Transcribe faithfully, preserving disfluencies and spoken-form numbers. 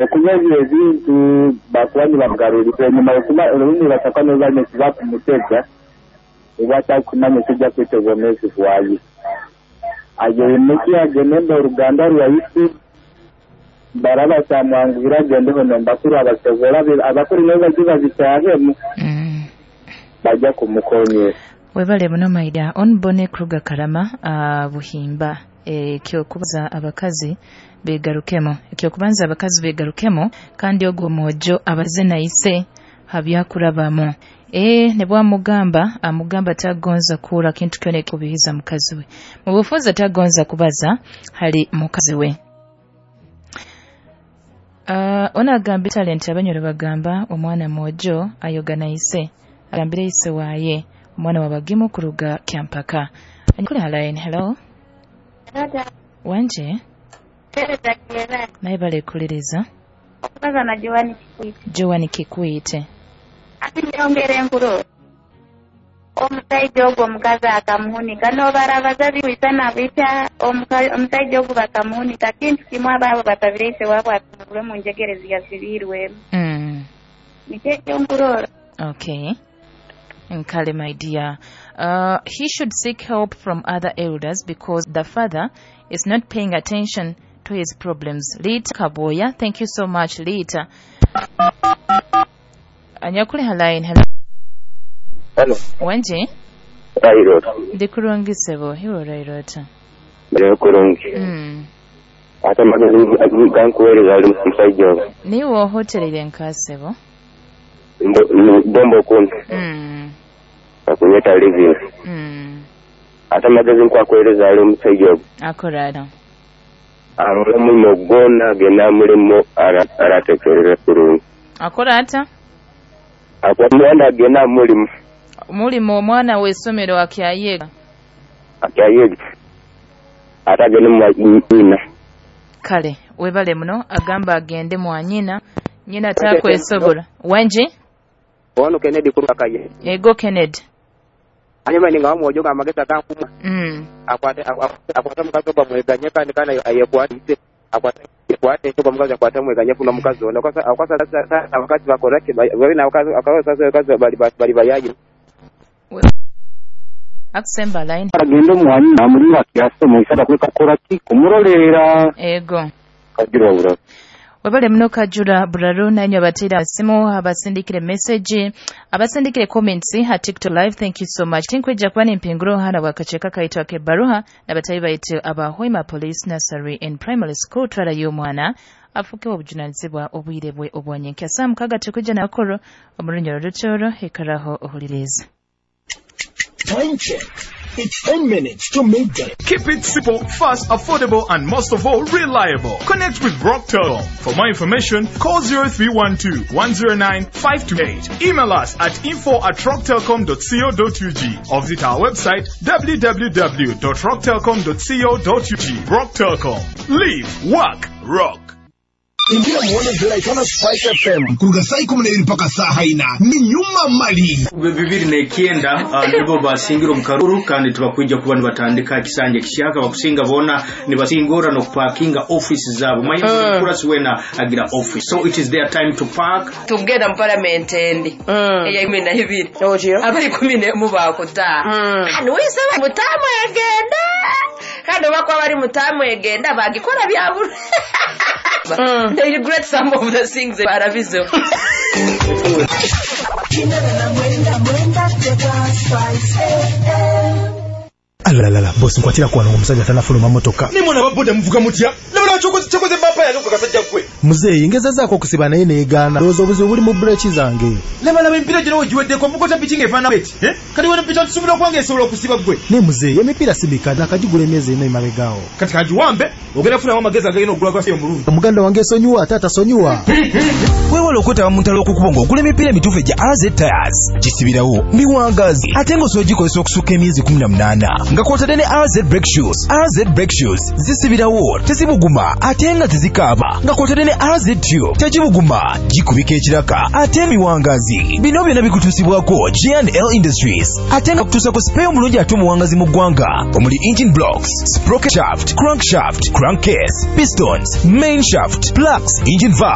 Okuba ebyo ebintu bakuba nibamugarurira enyuma, okuba orundi basakwa niba nisiba kumutega oba atakumanya ekijja kwita obwomeezi bwaye. Ayemuki agende oruganda rwaitu baraba kyamwanguhira agendeho nembakuru abasobora abakuru nabo bajye babitahemu Mm. bajja kumukonyera. Webale muno maida onbone Kruger Karama uh, Buhimba. Ekyokubanza abakazi begarukemo, ekyokubanza abakazi begarukemo, kandi ogwo mwojo abaze naise habyakurabamu. E nebwamugamba amugamba tagonza kura kintu kyona ekubihiza mukazi we, mubufunza tagonza kubaza hali mukazi we. Uh, ona agambye talent abanyoro bagamba omwana mwojo ayoga naise agambire ise waye omwana wabagimu kuruga Kyampaka. Anyukule line. Hello, wanje naye balekuliriza. Okubaza na Joani Kikwite. Joani Kikwite. Ati nyongera enkuro omusajja ogwo omukazi akamuhunika n'obarabaza biwisa nabita omusajja ogwo bakamuhunika kintu kimu abaabo batabire ise waabwe atumurwe mu njegere ziyasibirwemu. Mm. Nikyo ekyo nkurora. Okay. Nkale, my dear. Uh, he should seek help from other elders because the father is not paying attention to his problems. Lita Kaboya, thank you so much, Lita. Anyakule line. Hello. Hello. Wanje? Rairota. Ndi sebo, hiwo Rairota. Ndi kurungi. Mm. Ate amagezi gankuweereza ali musajja oyo. Niwe ohoterere nkasebo. Bombo kumpi. Mm. Akunyeta living. Mm. Ate amagezi nkwakuweereza ali omusajja oyo. Akorara. Arole omulimo gwona agenda mulimu aratekerera kurungi. Akora ata? Akwa omwana agenda mulimu. Mulimo omwana w'essomero akyayega. Akyayega. Ate agende mwanyina. Kale, webale muno agamba agende mwanyina. Nyina takwesobola. Wanje? Ono Kennedy kurakaye. Ego Kennedy. Anyuma ninga wamwojo amagezi akankumwa. Mm. Akwate akwate mukazi oba mweganye kandi kana ayekwate akwate akwate oba mukazi akwate mweganye funa mukazi ono akwasa akwasa abakazi bakora ki bali na abakazi akwasa abakazi bali bali bayayi. Akusemba line. Agende mwanyina muri akyaso isada kuleka kora ki kumurolera. Ego. Kagira bura. Webale muno Kajura Buraru nanyo abatera simu abasindikire message abasindikire comments ha TikTok live, thank you so much. Tinkweja kuba nempinguro hana wakacheka kaitwa ke baruha nabatayi baitu aba Hoima Police Nursery and Primary School twala y'omwana afuke obujunanizibwa obwire bwe obwanyenkya saa mukaga tukuja nakoro omurunyoro rutoro hekaraho ohuliriza. Time check. It's ten minutes to midday. Keep it simple, fast, affordable, and most of all, reliable. Connect with Rocktel. For more information, call zero three one two, one zero nine, five two eight. Email us at info at rocktelcom dot co dot U G or visit our website w w w dot rocktelcom dot co dot U G. Rocktelcom. Live, work, rock. Ingia muone vile Spice F M kuruga saa ikumi n'ibiri mpaka saa haina ni nyuma mali bibiri nekienda uh, nibo basingira omukaruru kandi tubakwija kuba nibatandika kisanje kishaka bakusinga bona nibasingora no parkinga office zabo mayi mm. Kurasi wena agira office, so it is their time to park tugenda mu parliament endi mm. eya ikumi na ibiri abali ikumi n'emu bakuta mm. Wise mutamu egenda kandi bakwa bari mutamu egenda bagikora byabura. Mm. They regret some of the things they are busy. Alalala, boss nkwatira kwa omusajja tanafuluma motoka. Ni mwana baboda muvuga mutya. Nabala chokoze chokoze bapa ya nuko kasajja kwe. Muzeeyi ngezezaako okusiba naye neegaana. Ndowooza obuzibu buli mu breki zange. Laba laba emipiira gino wegiweddeko ovuga piki ng'efaanana bweti. Eh? Kati wano piki tusubira okwange esobola okusiba ggwe. Ne muzeeyi emipiira si mikadde nakagigula emyezi ena emabegaawo. Kati kagiwambe ogenda kufunamu amagezi agagenda okugula gwaffe omulungi. Muganda wange esonyiwa ate atasonyiwa. Weewale okwetaba mu ntalo okukuba ng'ogula emipiira emituufu egya A Z Tires. Gisibirawo miwangazi ate ng'osobola ogikozesa okusukka emyezi kumi na munaana. Nga kwotadde ne A Z brake shoes. A Z brake shoes zisibirawo tezibuguma ate nga tezikaaba. Nga kwotadde ne A Z tube tekibuguma gikubika ekiraka ate miwangazi. Bino byonna bikutuusibwako G and L Industries ate nga kutuusako spare omulungi ate omuwangazi mu ggwanga omuli engine blocks, sprocket shaft, crankshaft, crankcase, pistons, main shaft, plugs, engine valve.